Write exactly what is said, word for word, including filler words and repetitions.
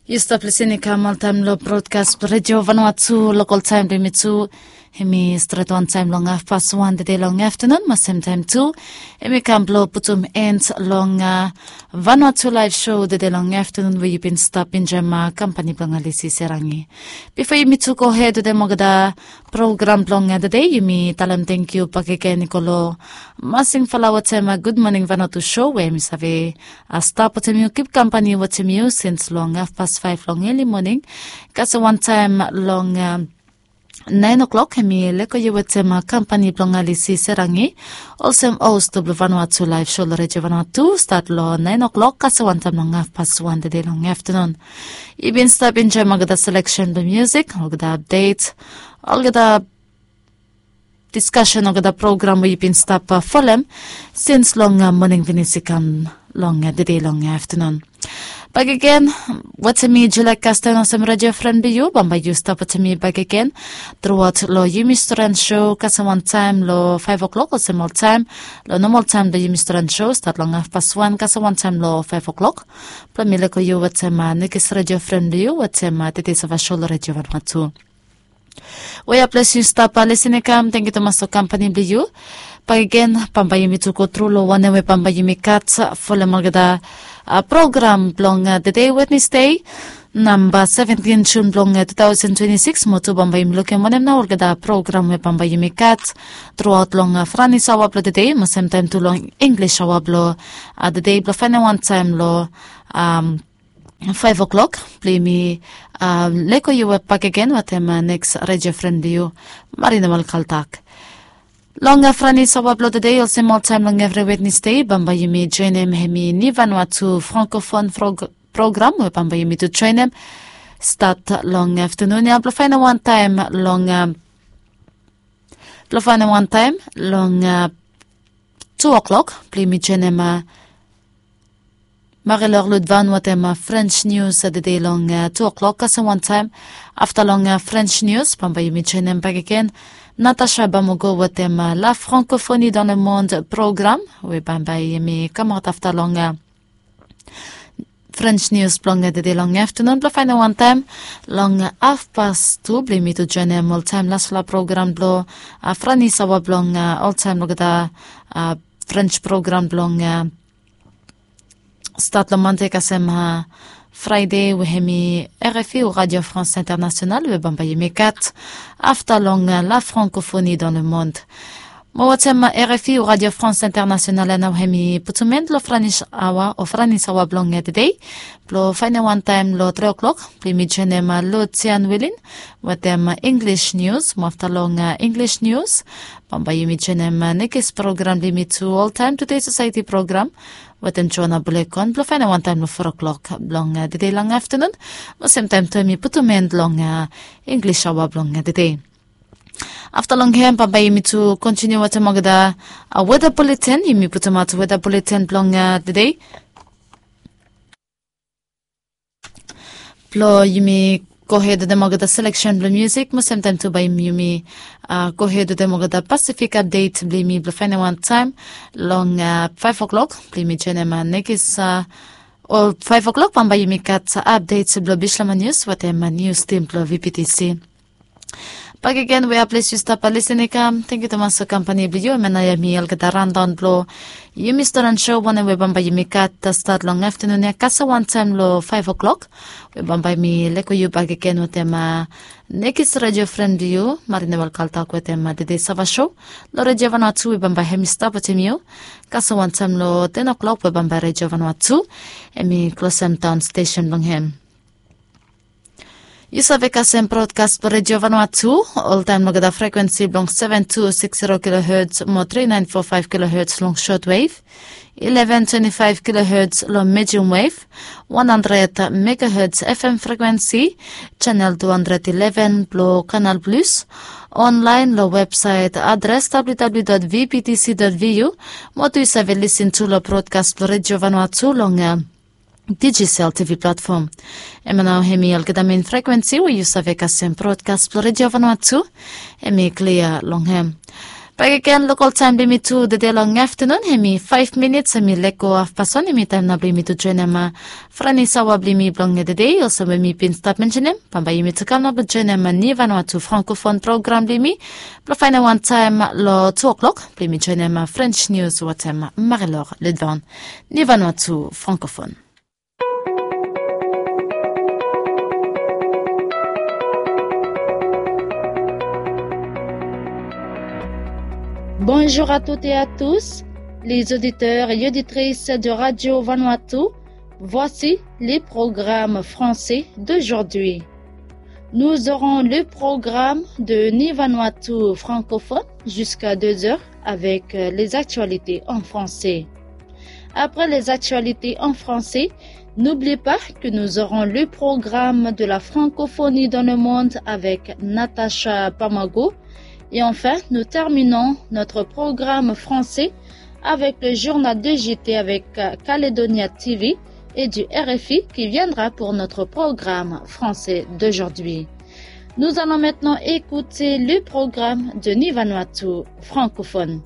Yu stap lisin i kam oltaem long brodkas blong redio vanua tu lokol taem blong yumi tu. Hem i stret wantaem long hafpas wan dede long aftanun mo semtaem tu hem i kam blong putum en long vanua tu laef sho dede long aftanun we yu bin stap enjoem kampani blong alisi serangi. Bifo yumi tu gohed wetem olgeta program blong tede, yumi talem tangkiu bakegen i go long masing fala wetem gudmoning vanua tu sho we hem i save stap wetem yu, kip kampani wetem yu sins long hafpas faef long eli moning. Kasem wantaem long naen oklok hem i leko yu wetem kampani blong alisi serangi olsem host blong vanua tu laef sho long redio vanua tu stat long naen oklok kasem wantaem long hafpas wan dede long aftanun. Yu bin stap enjoem olgeta seleksen blong musik, olgeta apdet, olgeta diskasen olgeta program we yu bin stap folem sins long moning finis i kam long dede long aftanun. Bakegen wetem mi Julia Kasten olsem redio fren blong yu, bambae yu stap wetem mi bakegen truaot long yumi storan sho kasem wantaem long faef oklok olsem oltaem. Long nomol taem blong yumi storan sho stat long hafpas wan kasem wantaem long faef oklok blong mi leko yu wetem nekis redio fren blong yu wetem tede sava sho long redio vanua tu. We ya ples yu stap lisin i kam, tangkiu tumas long kampani blong yu. Bakegen bambae yumi tu go tru long wanem we bambae yumi gat folem olgeta program blong tede wednesde namba seventin jun blong tu taosen twenti sikis mo tu bambae yumi lukim wanem nao olgeta program we bambae yumi gat truaot long franis aoa blong tede mo semtaem tu long inglis aoa blong tede blong faenem wantaem long faef oklok blong yumi leko yu we bakegen wetem neks redio fren blong yu, Marina Malkaltak. Long franis aoa blong tede olsem oltaem long evri wednesde bambae yumi joenem hem i nivanua tu frankofon program we bambae yumi tu joenem stat long aftanun ya blong faenem wantaem long blong faenem wantaem long tu oklok blong yumi joenem marilor ludvan wetem frens nius tede long tu oklok kasem wantaem. Afta long frens nius bambae yumi joenem bakegen natasha bamogo wetem la frankofoni dan le monde program we bambae yumi kamaot afta long frens nius blong tede long aftanun blong faenem wantaem long hafpas tu blong yumi tu joenem oltaem lasfala program blong franis aoa blong oltaem olgeta frens program blong stat long mande kasem fraede we hem i rfi o radio france internasional we bambae yumi gat afta long la frankofoni dan le monde. Mo wetem rfi o radio france internasional ya nao hem i putum en long franis aoa o franis aoa blong tede blong faenem wantaem long tri oklok blong yumi joenem lutian wilin wetem inglis nius mo afta long inglis nius bambae yumi joenem nekis program blong yumi tu oltaem tude sosaeti program wetem joana bulekon blong faenem wantaem long fo oklok blong tede long aftanun mo semtaem tu hem i putum en long inglis aoa blong tede. Afta long hem bambae yumi tu kontiniu wetem olgeta weda buleten, yumi putumaot weda buleten blong tede blong yumi gohed wetem olgeta seleksen blong musik mo semtaem tu bae yumi gohed wetem olgeta pasifik apdet blong yumi blong faenem wantaem long faef oklok blong yumi joenem nekis o faef oklok bambae yumi gat apdet blong bislama nius wetem nius tim blong vptc. Bakegen we ya ples yu stap lisin i kam, tangkiu tumas long kampani blong yu. Hem ya nao hem i olgeta raondaon blong yumi storan sho wanem we bambae yumi gat stat long aftanun ya kasem wantaem long faef oklok we bambae mi leko yu bakegen wetem nekis redio fren blong yu, Marina Walkaltak, wetem tede sava sho long redio vanua tu we bambae hem i stap wetem yu kasem wantaem long ten oklok we bambae redio vanua tu hem i klosem daon stesen blong hem. Yu save kasem brodkas blong redio vanua tu oltaem long olgeta frekwensi blong seven two six zero kilohertz mo three nine four five kilohertz long shortwave, eleven twenty-five kilohertz long medium wave, one hundred megahertz fm frekwensi, channel two hundred eleven blong Canal Plus, online long websaet adres www dot vptc dot vu, mo tu yu save lisin tu long brodkas blong redio vanua tu long Digicel TV platform. Hemia nao hemi olgeta mein frekwensi we yu save kasem brodkas blong Redio Vanuatu. Hemi klia long hem. Bakegen, lokal taem blong yumi tu tede long aftenun hemi faef minits hemi lego hafpast wan. Hemi taem nao blong yumi tu joenem Frani Sawa blong yumi blong tede. Olsem we mi bin stap mensenem, bambae yumi tu kam nao blong joenem Ni Vanuatu Frankofon program blong yumi blong faenem wan taem long tu o'clock blong yumi joenem French nius wetem Marie-Laure Ledvan. Ni Vanuatu Frankofon. Bonjour à toutes et à tous, les auditeurs et auditrices de Radio Vanuatu. Voici les programmes français d'aujourd'hui. Nous aurons le programme de Ni Vanuatu Francophone jusqu'à deux heures avec, euh, les actualités en français. Après les actualités en français, n'oublie pas que nous aurons le programme de la francophonie dans le monde avec Natacha Pamago. Et enfin, nous terminons notre programme français avec le journal de J T avec, euh, Caledonia T V et du R F I qui viendra pour notre programme français d'aujourd'hui. Nous allons maintenant écouter le programme de Ni Vanuatu Francophone.